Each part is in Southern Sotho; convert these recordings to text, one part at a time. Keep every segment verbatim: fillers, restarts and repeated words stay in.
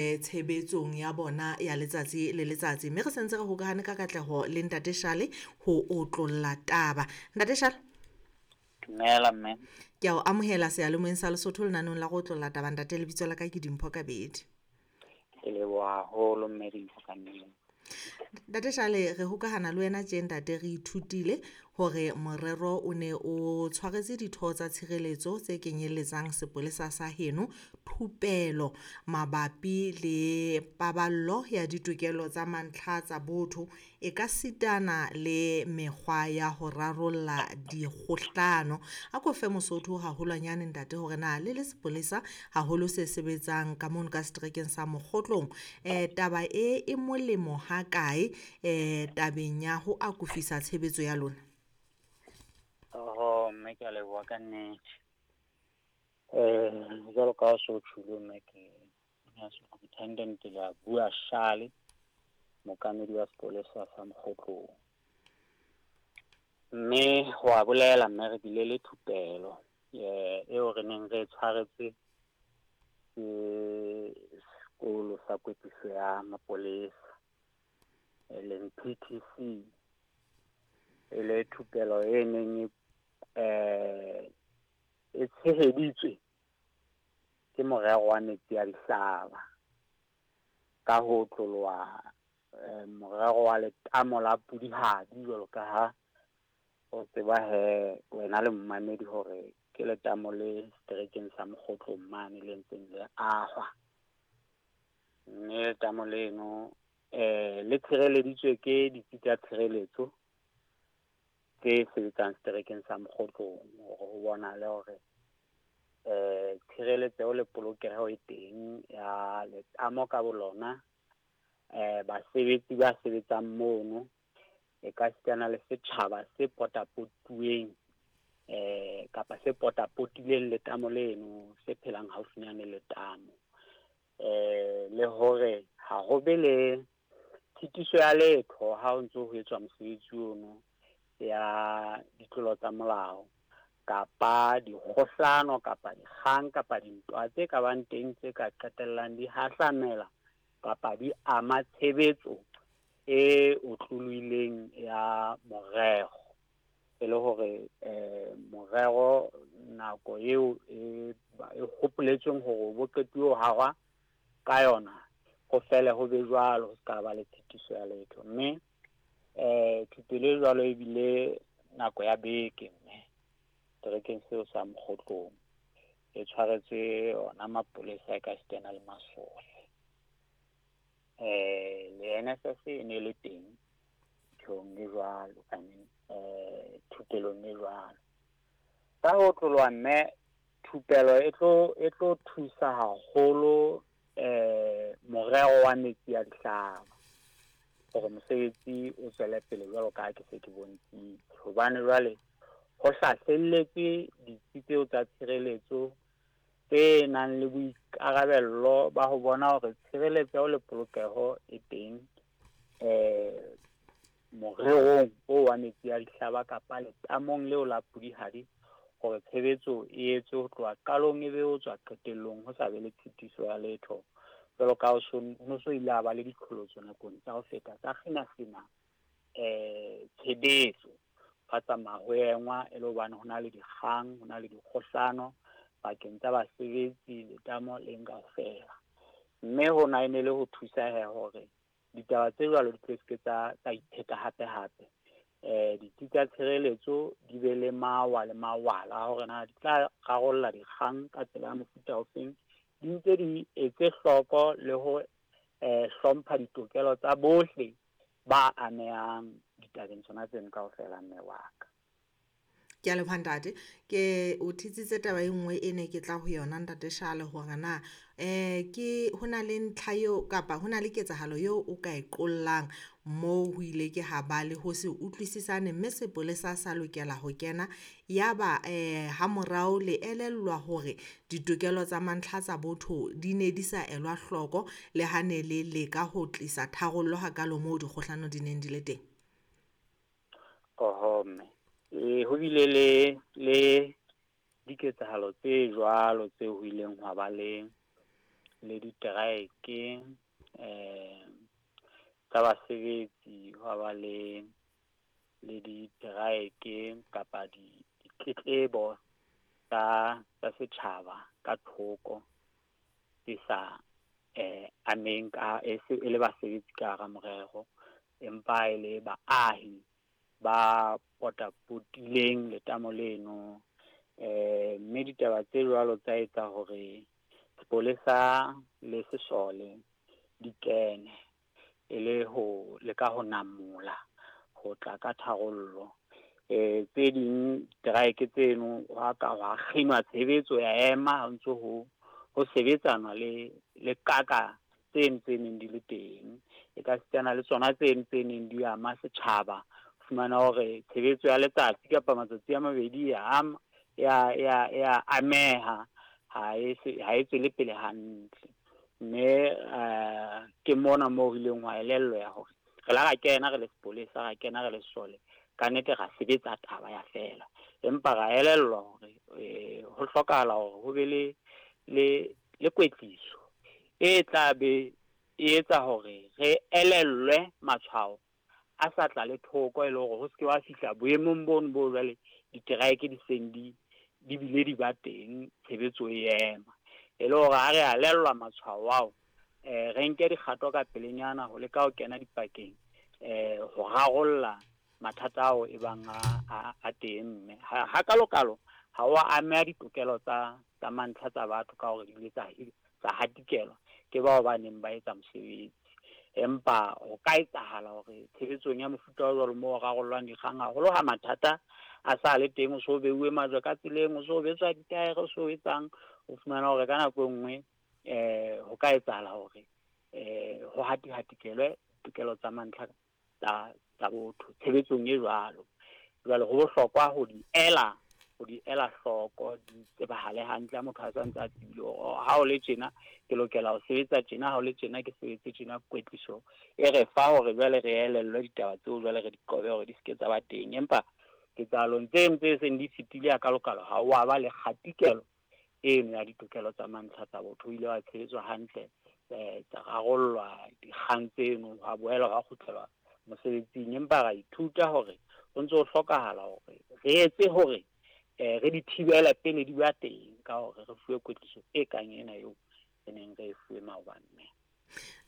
Tshebetsong ya bona ya letsatsi le letsatsi, mme re sentse re hokahane ka katleho le Ntate Shale ho otlolla taba. Ntate Shale, dumela mme. Ke a o amohela seyalemoyeng sa Lesotho lenaneong la go otlolla taba. Ntate, lebitso la ka ke Dimpho Kabedi. Ke leboha haholo mme Dimpho ka nnete. Ntate Shale, re hokahana le wena tje ntate, re ithutile hore morero o ne o tshwaretse ditho tsa tshireletso tse kenyelletsang sepolesa sa heno thupelo mabapi le paballo ya ditokelo tsa mantlha tsa botho e ka sitana le mekgwa ya ho rarolla dikgohlano. A ko fe Mosotho haholwanyane ntate hore na le le sepolesa haholo se sebetsang ka mono ka seterekeng sa Mokgotlong, eh taba e e molemo ha kae eh tabeng ya ho akofisa tshebetso ya lona? Oho mme, ke a leboha ka nnete. Eh jwalo ka ha o so tjhulo mme, ke Superintendent Leabua Shale, mookamedi wa sepolesa sa Mokgotlong. Mme wa bolela mme, re bile le thupelo eh eo re neng re tshwaretswe ke sekolo sa kwetliso ya mapolesa, e leng P T C. E le thupelo e neng e eh e tsheheditswe ke morero wa metsi a dihlaba ka ho tloloha eh, morero wa letamo la Pudihadi, jwalo ka ha o tseba he wena le mmamedi hore ke letamo le seterekeng sa Mokgotlong mane le ntseng le ahwa. Mme letamo leno eh le tshireleditswe ke ditsi tsa tshireletso tse sebetsang seterekeng sa Mokgotlong, hore ho bonahale hore eh tshireletseho le polokeho e teng ya letamo ka bolona, eh basebetsi ba sebetsang mono, e ka sitana le setjhaba se potapotuweng eh kapa se potapotileng letamo leno, se phelang haufinyane le letamo. Eh le hore ha ho be le tshitiso ya letho ha ho ntso ho etswa mosebetsi ono ya ditlolo tsa molao kapa dikgohlano kapa dikgang kapa dintwa tse ka bang teng tse ka qetellang di hahlamela kapa di ama tshebetso e otlolohileng ya morero. E le hore eh morero nako eo e e hopoletsweng hore bo qetuwe ho hahwa ka yona, ho fele ho be jwalo, ho ska ba le tshitiso ya letho. Mme eh thupelo e jwalo ebile nako ya beke mme seterekeng seo sa Mokgotlong, e tshwaretswe ona mapolesa e ka sitana le masole. Eh le N S S e ne le teng nthong e jwalo, I mean eh thupelong e jwalo. Ka ho tloloha mme, thupelo e tlo e tlo thusa haholo eh morero wa metsi a dihlaba hore mosebetsi o tswele pele jwalo ka ha ke se ke bontshitse. Hobane jwale ho hlahlelletswe ditsi tseo tsa tshireletso tse nang le boikarabello ba ho bona hore tshireletseho le polokeho e teng eh morerong o wa metsi a dihlaba kapa letamong leo la Pudihadi, hore tshebetso e etswe ho tloha qalong e be ho tswa qetellong, ho sa be le tshitiso ya letho. Jwalo ka ho so, ho so ile a ba le diqholotso nakong tsa ho feta tsa kgina-kgina eh tshebetso, ba tsamaya ho engwa e le hobane ho na le dikgang, ho na le dikgohlano pakeng tsa basebetsi letamo le kaofela. Mme hona e ne le ho thusa he hore ditaba tse jwalo di tlo se ke tsa, tsa ipheta hape hape. Eh ditsi tsa tshireletso di be le mawa le mawala hore na di tla rarolla dikgang ka tsela ya mofuta ofeng, di ntse di etse hloko le ho eh hlompha ditokelo tsa bohle ba amehang ditabeng tsona tseno kaofela mme wa ka. Ke a leboha ntate. Ke o thitsitse taba e nngwe e ne ke tla ho yona ntate Shale, hore na eh ke hona le ntlha eo kapa hona le ketsahalo eo o ka e qollang moo ho ile ke ha ba le ho se utlwisisane mme sepolesa sa lokela ho kena, yaba eh ha morao le elellwa hore ditokelo tsa mantlha tsa botho di ne di sa elwa hloko le ha ne le leka ho tlisa tharollo hakalo moo dikgohlano di neng di le teng? Oho mme, e ho bile le le diketsahalo tse jwalo tse ho ileng hwa ba le le diteraeke eh tsa basebetsi, hwa ba le le diteraeke kapa di ditletlebo tsa tsa setjhaba ka thoko tse sa eh ameng ka e se e le basebetsi ka hara morero, empa e le baahi ba potapotileng letamo leno. Eh mme ditaba tse jwalo tsa etsa hore sepolesa le sesole di kene e le ho leka ho namola ho tla ka tharollo. Eh tse ding teraeke tseno hwa ka hwa kginwa tshebetso ya ema ha ntso ho ho sebetsanwa le le kaka tseno tse neng di le teng. E ka sitana le tsona tseno tse neng di ama setjhaba, fumana hore tshebetso ya letsatsi kapa matsatsi a mabedi ya ama ya ya ya ameha, ha e se ha e tswele pele hantle. Mme eh ke mona moo re ileng hwa elellwa ya hore re la ra kena re le sepolesa, ra kena re le sesole, ka nnete ra sebetsa taba ya fela, empa ra elellwa hore eh ho hlokahala hore ho be le le le kwetliso e tla be e etsa hore re elellwe matshwao a sa tla le thoko, e le hore ho se ke wa fihla boemong bono bo jwale diteraeke di seng di di bile di ba teng, tshebetso e ema. E le hore ha re alellwa matshwao ao, eh re nke dikgato ka pelenyana ho leka ho kena dipakeng eh ho rarolla mathata ao e bang a a teng. Mme ha ha kalokalo ha wa ameha ditokelo tsa tsa mantlha tsa batho ka hore di ile tsa tsa hatikelwa ke bao ba neng ba etsa mosebetsi. Empa ho ka etsahala hore tshebetsong ya mofuta o jwalo moo rarollwang dikgang haholo ha mathata a sa le teng, o so beuwe majwe ka tseleng, o so betswa ditaere, o so etsang, o fumana hore ka nako e nngwe eh ho ka etsahala hore eh ho hati-hatikelwe tokelo tsa mantlha tsa tsa botho tshebetsong e jwalo. Jwale ho bohlokwa ho di ela ho di ela hloko, di tsebahale hantle ha motho a sa ntse a tsebile hore ha o le tjena ke lokela ho sebetsa tjena, ha o le tjena ke sebetse tjena. Kwetliso e re fa hore jwale re elellwe ditaba tseo, jwale re di qobe hore di se ke tsa ba teng. Empa ketsahalong tseno tse seng di fetile ya kalokalo ha wa ba le kgatikelo eno ya ditokelo tsa mantlha tsa botho, o ile wa tshebetswa hantle, eh tsa rarollwa dikgang tseno, hwa boela hwa kgutlelwa mosebetsing. Empa ra ithuta hore ho ntso ho hlokahala hore re etse hore eh re di thibela pele di ba teng ka hore re fuwe kwetliso e kang ena eo re neng re e fuwe maobane. Mme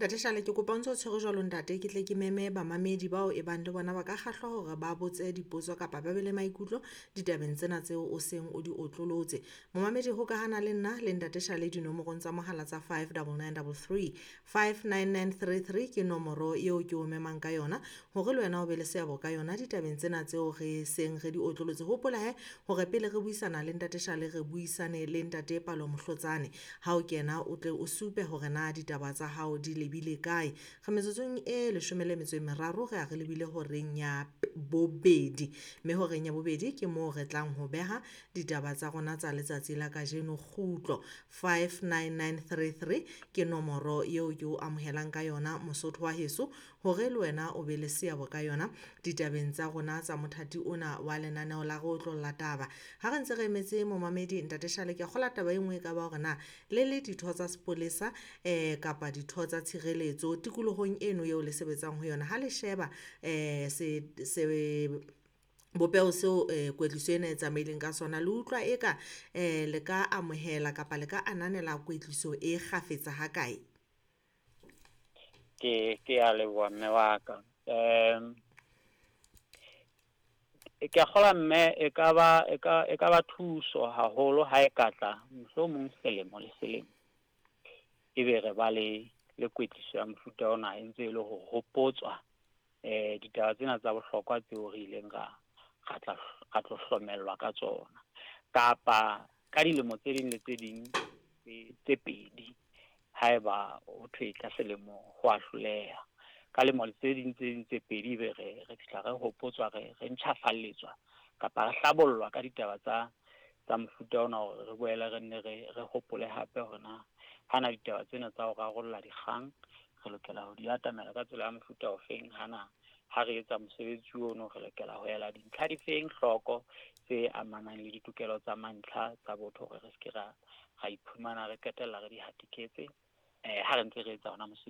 Ntate Shale, ke kopa o ntso tshwere jwalo ntate, ke tle ke meme bamamedi bao e bang le bona ba ka kgahlwa hore ba botse dipotso kapa ba be le maikutlo ditabeng tsena tseo o seng o di otlolotse. Momamedi hokahana le nna le Ntate Shale dinomorong tsa mohala tsa five double nine double three, five nine nine three three ke nomoro eo ke o memang ka yona hore le wena o be le seabo ka yona ditabeng tsena tseo re seng re di otlolotse. Hopola he hore pele re buisana le Ntate Shale re buisane le Ntate Palo Mohlotsane. Ha o kena o tle o supe hore na ditaba tsa hao di lebile kae. Re metsotsong e leshome le metso e meraro re a re lebile horeng ya bobedi, mme horeng ya bobedi ke moo re tlang ho beha ditaba tsa rona tsa letsatsi la kajeno. Kgutlo five nine nine three three ke nomoro eo ke o amohelang ka yona Mosotho wa heso hore le wena o be le seabo ka yona ditabeng tsa rona tsa mothati ona wa lenaneo la re otlolla taba. Ha re ntse re emetse momamedi Ntate Shale, ke a kgola taba e nngwe e ka ba hore na le le ditho tsa sepolesa eh kapa ditho tsa tshireletso tikolohong eno eo le sebetsang ho yona, ha le sheba eh se se bopeho seo eh kwetliso ena e tsamaileng ka sona, le utlwa eka eh le ka amohela kapa le ka ananela kwetliso e kgafetsa hakae? Ke ke a leboha mme wa ka. Em ke a kgolwa mme e ka ba e ka e ka ba thuso haholo ha e ka tla mohlomong selemo le selemo ebe re ba le le kwetliso ya mofuta ona e ntse e le ho hopotswa eh ditaba tsena tsa bohlokwa tseo re ileng ra ra tla ra tlo hlomellwa ka tsona, kapa ka dilemo tse ding le tse ding tse pedi haeba ho thwe ka selemo ho a hloleha, ka lemo tse ding tse ding tse pedi be re re fihla re hopotswa re re ntjhafalletswa kapa re hlabollwa ka ditaba tsa tsa mofuta ona hore re boele re nne re re hopole hape hore na hana ditaba tsena tsa ho rarolla dikgang re lokela ho di atamela ka tsela ya mofuta ofeng, hana ha re etsa mosebetsi ono re lokela ho ela dintlha difeng hloko tse amanang le ditokelo tsa mantlha tsa botho hore re se ke ra ra iphumana re qetella re di hatiketse Eh ha re ntse re etsa ona mosebetsi.